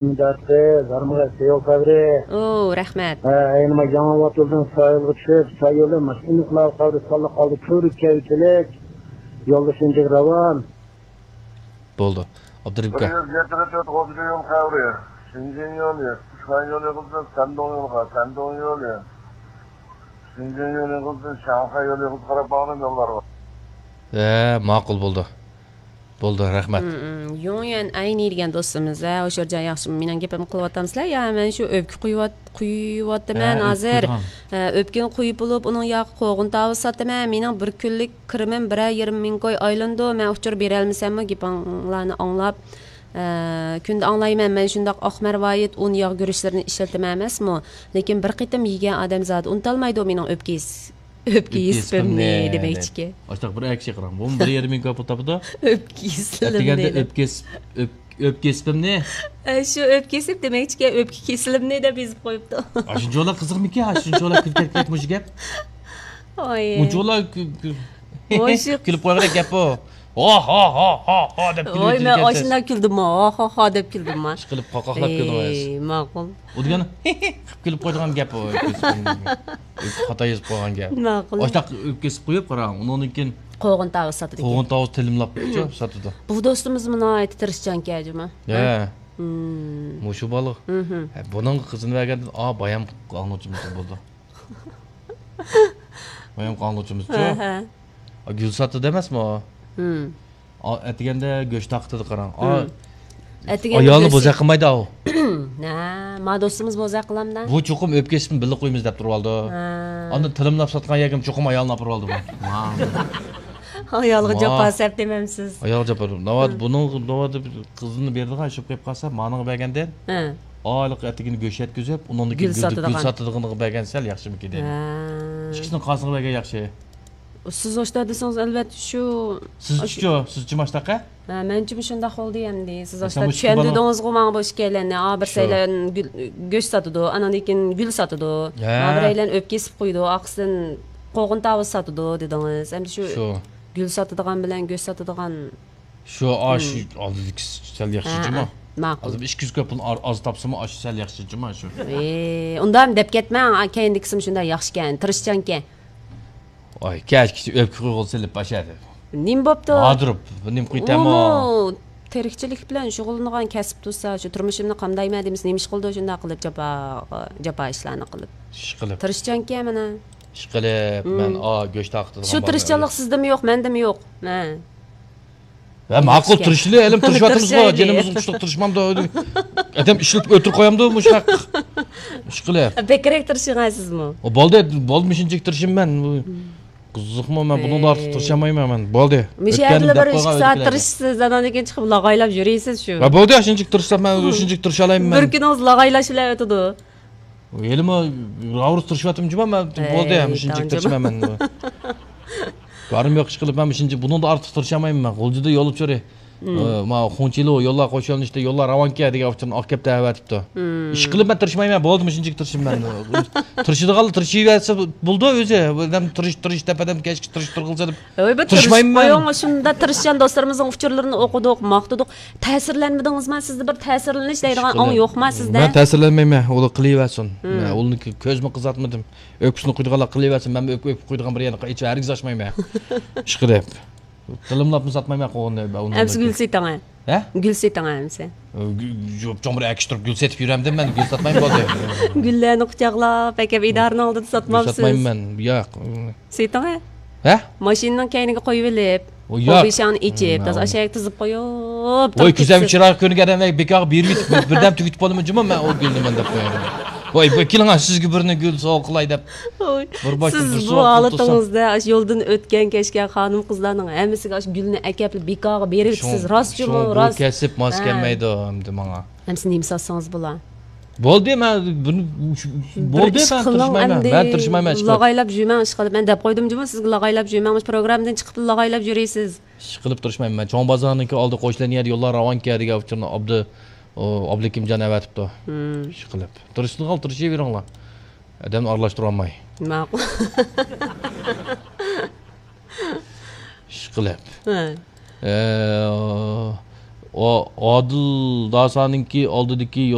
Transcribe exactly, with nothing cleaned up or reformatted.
مۇداپىئە، زارمىغا سېيىل قەبرى. ئوو، رەھمەت. ھە، ئەينىما ياڭى ۋاتۇلدىن سايىلغا چۈشۈپ، سايىلى ماشىنىلىقلارغا قەبرى ساللىق ئالدى كۆرۈك كەۋچىلىك. يولدا شىنجىغا راۋان. بولدى. ئابدۇرېھىم ئاكا. بىر يۈز يەتتە تۆت غوزىگە يول قەبرى. شىنجىڭ يولى، خۇشخۇەن يولى قىلسا سەندۇڭ يولغا، سەندۇڭ يولى. شىنجىڭ يولى قىلسا شاڭخەي يولى قىلسا قاراپ باغلىنىپ يوللار بار. ھە، ماقۇل بولدى. بولدى، رەھمەت. يۇڭيۈەن ئەينى دېگەن دوستىمىز، ھە، ھوشۇرجان ياخشىمۇ؟ مېنىڭ گېپىمنى قىلىۋاتامسىلەر يا مەن شۇ ئۆپكە قۇيۇۋات-، قۇيۇۋاتىمەن ھە، ئۆپكە ھازىر؟ قۇيىدىغان. ھە، ئۆپكىنى قۇيۇپ بولۇپ، ئۇنىڭ ياقى قوغۇن تاۋۇز ساتىمەن. مېنىڭ بىر كۈنلۈك كىرىمىم بىرەر يېرىم مىڭ كوي ئايلىنىدۇ. مەن ئۇچۇر بېرەلمىسەممۇ، گېپىڭلارنى ئاڭلاپ، ئە، كۈندە ئاڭلايمەن، مەن شۇنداق ئاق مەرۋايىت ئۇن ياغ گۈرۈچلىرىنى ئىشلىتىمەن ئەمەسمۇ؟ لېكىن بىر قېتىم يېگەن ئادەم زادى ئۇنتالمايدۇ مېنىڭ ئۆپكە يېس-، ئۆپكە يېسىپىمنى دېمەكچىكەن. ئاشتاق بىر ئەكشى قاراڭ. بۇمۇ بىر يېرىم مىڭ كوي پۇل تاپىدۇ. ئۆپكە يېسىلىمنى ئەتىگەندە دەپ. ئۆپكە يېسىپ، ئۆپ-، ئۆپكە يېسىپىمنى. ئە، شۇ ئۆپكە يېسىپ دېمەكچىكەن، ئۆپكە كېسىلىمنى دەپ يېزىپ قويۇپتۇ. ئاشۇنچىۋالا قىزىقمىكەن، ئاشۇنچىۋالا كۈلكەك مۇشۇ گەپ. ئوي. ئۇنچىۋالا كۈ-، كۈ-، ۋوي، شۇ كۈلۈپ قويغۇدەك گەپ ئۇ. ھا، ھا، ھا، ھا، ھا دەپ ۋوي، مەن كۈلۈۋېتىدىكەنسىز. ئاشۇنداق كۈلدۈممۇ؟ ھا، ھا، ھا دەپ كۈلدۈممۇ؟ ئىشقىلىپ قاقاقلاپ كۈلدىڭىز. ئەي، ماقۇل. ئۇ دېگەن قىلىپ كۈلۈپ قويىدىغان گەپ ئۇ. خاتا يېزىپ قويغان گەپ. ماقۇل. ئاشتاق ئۆپكە يېسىپ قويۇپ قاراڭ. ئۇنىڭدىن كېيىن قوغۇن تاۋۇز ساتىدىكەن. قوغۇن تاۋۇز تىلىملاپ ساتىدۇ. بۇ دوستىمىز ناھايىتى تىرىشچانكەن جۇما. ھە. مم. مۇشۇ بالا. مھم. ھە، بۇنىڭغا قىزىنى بەرگەندىن، ئا، بايام ئاڭلىغۇچىمىز بولدى. بايام ئاڭلىغۇچىمىزچۇ؟ ھە، ھە. ئا، گۈل ساتىدۇ ئەمەسمۇ؟ مم. ئا، ئەتىگەندە گۆش تارقىتىدۇ قاراڭ. ئا، مم. ئەتىگەندە ئايالنى گۆش بوزەك قىلمايدۇ ئاۋۇ. ھە، ما دوستىمىز بوزەك قىلامدا. بۇ چوقۇم ئۆپكە يېسىپمۇ بىللە قويىمىز دەپ تۇرۇۋالىدۇ. ھە. ئاندىن تىلىملاپ ساتقان يەرگىمۇ چوقۇم ئايالنى ئاپىرىۋالىدۇ بۇ. ۋاڭ. ئايالغا ۋاڭ. جاپا سەپ دېمەمسىز. ئايالغا جاپا. ناۋادا ھە. بۇنىڭ، ناۋادا قىزىنى بېرىدىغان ئىش بولۇپ قالسا، مانىڭغا بەرگەندىن ھە. ئايلىق ئەتىگىنى گۆش يەتكۈزۈپ، ئۇنىڭدىن كېيىن گۈل گۈل، گۈل ساتىدىغان. ساتىدىغىنىغا بەرگەن سەل ياخشىمىكىن دەيمەن. ھە. ئىككىسىنىڭ قايسىغا بەرگەن ياخشى؟ سىز ئاشتا دېسىڭىز، ئەلۋەتتە شۇ. سىزچۇ؟ سىزچىمۇ ئاشتاق ھە؟ ھە، مەنچىمۇ شۇنداق بولدى ئەمدى. سىز ئاشتا چۈشەندۈردىڭىزغۇ ماڭا بۇ ئىككىيلەننى. ئا، بىرسەيلەن گۈل، گۆش ساتىدۇ، ئاناندىن كېيىن گۈل ساتىدۇ. ھە. ھا، بىرەيلەن ئۆپكە يېسىپ قويىدۇ، ئارقىسىدىن قوغۇن تاۋۇز ساتىدۇ دېدىڭىز. ئەمدى شۇ شۇ. گۈل ساتىدىغان بىلەن گۆش ساتىدىغان شۇ، ئا، شۇ ئالدىدىكىسى سەل ياخشى جۇما. ھە، ھە، ماقۇل. ھازىر ئىككى يۈز كوي پۇلنى ئا-، ئاز تاپسىمۇ، ئاشۇ سەل ياخشى جۇما شۇ. ئى، ئۇنداق دەپ كەتمەڭ، كەينىدىكىسىمۇ شۇنداق ياخشىكەن، تىرىشچانكەن. ۋاي، كەچكىچە ئۆپكە قويغىلى سېلىپ باشلىدى. نېمە بوپتۇ؟ ھازىر نېمە قىلىتەمۇ؟ ئۇمۇ تىرىكچىلىك بىلەن شۇغۇللىنىدىغان كەسىپ تۇرسا، شۇ تۇرمۇشۇمنى قامدايمەن دېمىسە، نېمە ئىش قىلىدۇ شۇنداق قىلىپ، جاپا، جاپا ئىشلارنى قىلىپ. ئىش قىلىپ. تىرىشچانكەن مانا. ئىش قىلىپ، مم. مەن، ئا، گۆش تارقىتىدىغان شۇ بارمەن تىرىشچانلىق ئۆيدە. سىزدىمۇ يوق، مەندىمۇ يوق. ھە. ھە، ماقۇل، تىرىشىلى، ھېلىمۇ تىرىشىۋاتىمىزغۇ، تىرىشايلى. جېنىمىز قۇشلۇق تىرىشمامدۇ. ئادەم ئىشلىتىپ ئۆلتۈرۈپ قويامدۇ مۇشۇنداق ئىش قىلىپ. بەكرەك تىرىشىڭ سىزمۇ. ئو، بولدى، بولدى، مۇشۇنچىلىك تىرىشىمەن. قىزىقمۇ، مەن بۇنىڭدىن ئارتۇق ئەي. تىرىشالمايمەن مەن. بولدى. مۇشۇ ئۆتكەننى يەردىلا دەپ بىر ئىككى قويغان سائەت ئۆتكەنلەرگە. تىرىشىسىز، ئاناندىن كېيىن چىقىپ لاغايلاپ يۈرىسىز شۇ. ھە، بولدى، شۇنچىلىك تىرىشسام مەن شۇنچىلىك تىرىشالايمەن مەن. بىر كۈنىڭىز لاغايلاش بىلەن ئۆتىدۇ. ھېلىمۇ راۋۇرۇس تىرىشىۋاتىمەن جۇما مەن. ئەي، بولدى، مۇشۇنچىلىك تاڭ جۇما. تىرىشىمەن مەن. بارىم يوق ئىش قىلىپ، مەن مۇشۇنچە، بۇنىڭدا ئارتۇق تىرىشالمايمەن مەن. غۇلجىدا يول ئۇچۇرى. مم. ئە، ما خۇڭچىلۇ يوللار قوشۇلۇشتا يوللار راۋانكەن دېگەن ئۇچۇرنى ئاكەپ دەۋەتىپتۇ. مم. ئىش قىلىپ مەن تىرىشمايمەن، بولدى، مۇشۇنچىلىك تىرىشىمەن. تىرىشىدىغانلار تىرىشىۋەرسە بولدى ئۆزى. ئادەم تىرىش، تىرىش دەپ، ئادەم كەچكىچە تىرىشتۇرغىلى سېلىپ. ھۆي، بىر تىرىشمايمەن تىرىشىپ مەن. قويۇڭ، شۇنداق تىرىشچان دوستلىرىمىزنىڭ ئۇچۇرلىرىنى ئوقۇدۇق، ماختىدۇق. تەسىرلەنمىدىڭىزما؟ سىزدە بىر تەسىرلىنىش دەيدىغان ئاڭ يوقما سىزدە؟ مەن تەسىرلەنمەيمەن، ئۇلار قىلىۋەرسۇن. مم. مەن ئۇلارنى كۆزمۇ قىزارتمىدىم. ئۆپكىسىنى قويىدىغانلار قىلىۋەرسۇن، مەن ئۆپكە، ئۆپكە قويىدىغان بىر يەرنى ھېچ ھەرگىز ئاچمايمەن. ئىشقىلىپ. تىلىملاپمۇ ساتمايمەن قوغۇننى. ئەمسە گۈل سېتىڭە. ھە؟ گۈل سېتىڭە ئەمسە. گۈ-، چوڭ بىر ئەكىشتۇرۇپ گۈل سېتىپ يۈرەمدىم مەن، گۈل ساتمايمەن بولدى. گۈللەرنى قۇچاقلاپ، ئەكەپ ئىدارىنىڭ ئالدىدا گۈل ساتمامسىز؟ ساتمايمەن مەن، ياق. سېتىڭە. ھە؟ ماشىنىنىڭ كەينىگە قويۇۋېلىپ، ئۇ ياق. پوبىشاڭنى ئېچىپ، مم، تازا مم. ئاشاق تىزىپ قويۇپ، ۋاي، كۆزۈم چىرايلىق كۆرۈنگەن ئادەم، بىكارغا بېرىۋېتىپ، بىردەم تۈگىتىپ بولىمەن جۇمۇ، مەن ئۇ گۈلنى مەن دەپ قوياي. ۋاي، بۇ كېلىڭ، سىزگە بىرنى گۈل سوۋغا قىلاي دەپ. ۋاي، بىر باشتىن سىز بىر بۇ سوۋغا قىلىپ تۇرسام. ھالىتىڭىزدە ئاشۇ يولدىن ئۆتكەن، كەچكەن خانىم-قىزلارنىڭ ھەممىسىگە ئاشۇ گۈلنى ئەكەپلا بىكارغا بېرىۋېتىسىز، شۇڭ-، راستچۇمۇ؟ شۇڭا بۇ راست. كەسىپ ماس ھە. كەلمەيدۇ ئەمدى ماڭا. ئەمسە نېمە ساتسىڭىز بولا؟ بولدى، مەن بۇنى، بىر بولدى، ئىش مەن قىلىڭ تىرىشمايمەن. ئەمدى. مەن تىرىشمايمەن، ئىشقىلىپ. لاغايلاپ يۈرمەڭ، ئىشقىلىپ. مەن دەپ قويدۇم جۇمۇ سىزگە لاغايلاپ يۈرمەڭ، مۇشۇ پروگراممىدىن چىقىپلا لاغايلاپ يۈرىسىز. ئىشقىلىپ تىرىشمايمەن. مەن چوڭ بازارنىڭكى ئالدى قوشۇلغان يەردە يوللار راۋانكەن دېگەن ئۇچۇرنى ئابدۇ-، ئۇ، ئابلىكىمجان ئەۋەتىپتۇ. مم. ئىشقىلىپ. تىرىشىدىغان تىرىشىۋېرىڭلار. ئادەمنى ئارىلاشتۇرالماي. ماقۇل. ئىشقىلىپ. ھە. ئە، ئادىل داسانىڭكى ئالدىدىكى